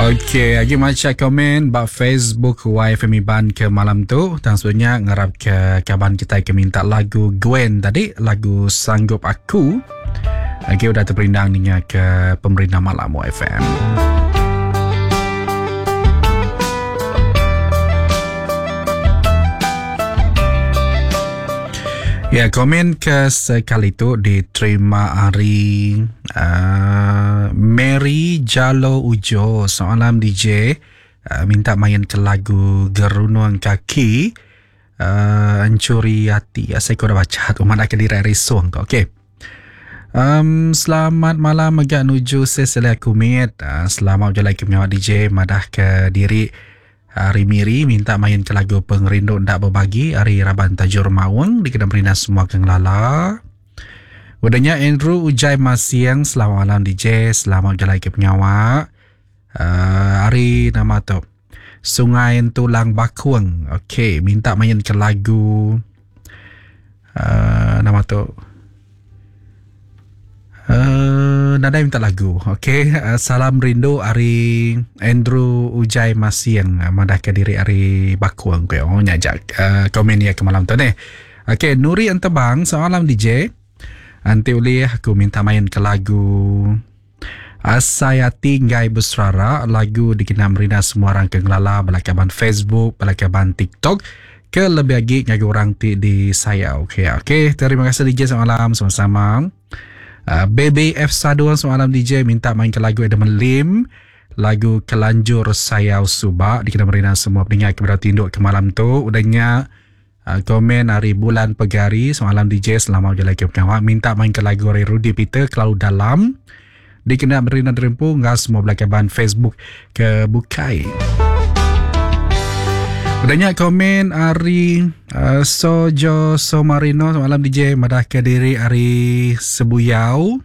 Okey, agi macha komen ba Facebook YFM Iban ke malam tu. Tang sebelumnya ngarap ke kaban kitai ke minta lagu Gwen tadi, lagu Sanggup Aku. Agi udah terperindang ninga ke pemerindang malam YFM. Ya, komen ke sekali tu diterima hari uh, Mary Jalo Ujo. Selamat malam DJ. Uh, minta main ke lagu Gerunung Kaki. Uh, Encuri Hati. Saya kau dah baca tu. Mana ke diri hari song tu. Okey. Um, selamat malam mega nuju Cecilia Kumit. Uh, selamat berjalan ke pengawal DJ. Madah ke diri Ari Miri minta main ke lagu Pengerindu Enda Bebagi ari raban Tajur Maung dikena merindang semua ke ngelala. Udah nya Andrew Ujai Masing selamat malam DJ selamat bejalai ke pengawa. Uh, ari nama tu Sungai Entulang Bakung. Okey, minta main ke lagu uh, nama tu Uh, nadai minta lagu. Okey, uh, salam rindu ari Andrew Ujai Masing uh, madah ke diri ari Bakung ke. Oh nya jak uh, komen dia ke malam tu ni. Okey, Nuri Entebang, selamat malam DJ. Anti ulih aku minta main ke lagu Asai Ati Enggai Beserara, lagu dikena merina semua orang ke ngelala bala kaban Facebook, bala kaban TikTok ke lebih agi ngagai orang ti disayau. Okey, okey. Terima kasih DJ selamat malam sama-sama. Uh, Baby F Sadun selamat malam DJ minta main ke lagu Adam Lim lagu Kelanjur Sayau Suba dikena merina semua pendengar ke berada tinduk ke malam tu. Udahnya uh, komen hari bulan pegari selamat malam DJ selamat berjalan ke pengawa minta main ke lagu hari Rudy Peter kelalu dalam dikena merina derempu enggau semua belakaban Facebook ke bukai. Udah nya komen ari uh, Sojo Somarino semalam DJ madah ke diri ari Sebuyau.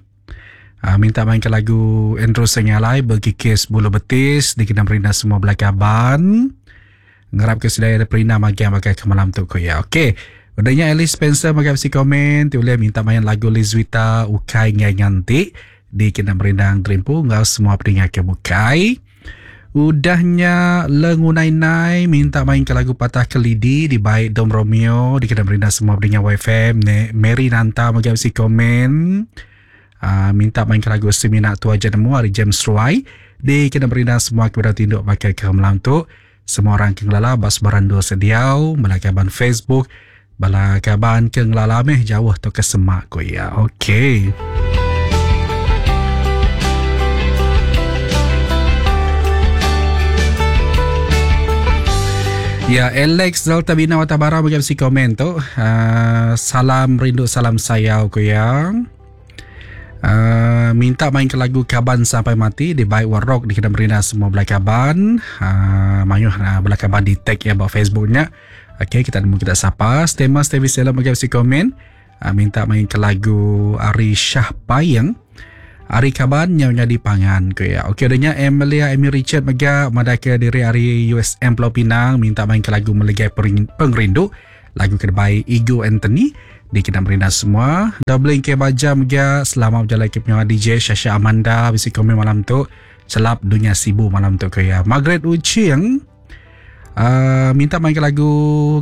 Uh, minta main ke lagu Andrew Sengalai berkikis bulu betis dikena merina semua belakaban. Ngarap ke sedaya ada perina magi yang pakai ke malam tu ko ya. Okey. Udah nya Alice Spencer magai bisi komen ti ulih minta main lagu Lizwita Ukai Ngai Nganti dikena merindang terimpu enggau semua peninga ke bukai. Udah nya Lengunai Nai minta main ke lagu Patah Kelidi dibai Dom Romeo dikena merindang semua peninga YFM ne Mary Nanta mega bisi komen uh, minta main ke lagu Semina Tu Aja Nemu ari James Ruai dikena merindang semua ke bedau tinduk pakai ke malam tu. Semua orang ke ngelala ba sebarang endur sediau bala kaban Facebook bala kaban ke ngelala meh jauh tauka semak ku iya. Okey. Ya, Alex Delta Bina Watabara bagi bisi komen tu. Uh, salam rindu, salam sayau ku iya. Uh, minta main ke lagu Kaban Sampai Mati di Baik War Rock di Kedai Merina semua belai kaban. Uh, mayuh uh, belai kaban di tag ya ba Facebooknya. Okey, kita nemu kita sapa. Stema Stevi Selam bagi bisi komen. Uh, minta main ke lagu Ari Shah Payeng. Ari kaban nyau nyadi pangan ku ya. Okey, adanya Emilia Amy Richard mega madah ke diri ari USM Pulau Pinang minta main ke lagu Melegai Pengerindu. Lagu ke dibai Igo Anthony dikena merindang semua. Doubling ke baja mega selamat berjalai ke pengawa DJ Shasha Amanda bisi komen malam tu. Celap dunya Sibu malam tu ke ya. Margaret Ucing uh, minta main ke lagu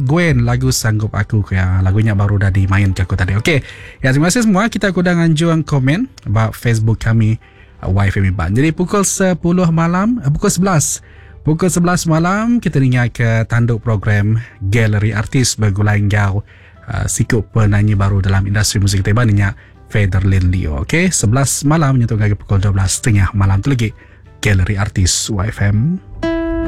Gwen lagu Sanggup Aku ke ya. Lagunya baru dah dimain ke aku tadi. Okey. Ya terima kasih semua kita aku dah nganjuang komen ba Facebook kami YFM Iban. Jadi pukul 10 malam, eh, pukul 11. Pukul 11 malam kita ninga ke tanduk program Galeri Artis begulai enggau uh, siku penanyi baru dalam industri muzik kita Iban nya Federlin Leo. Okey, 11 malam nyentuk ngagai pukul 12.30 malam tu lagi Galeri Artis YFM.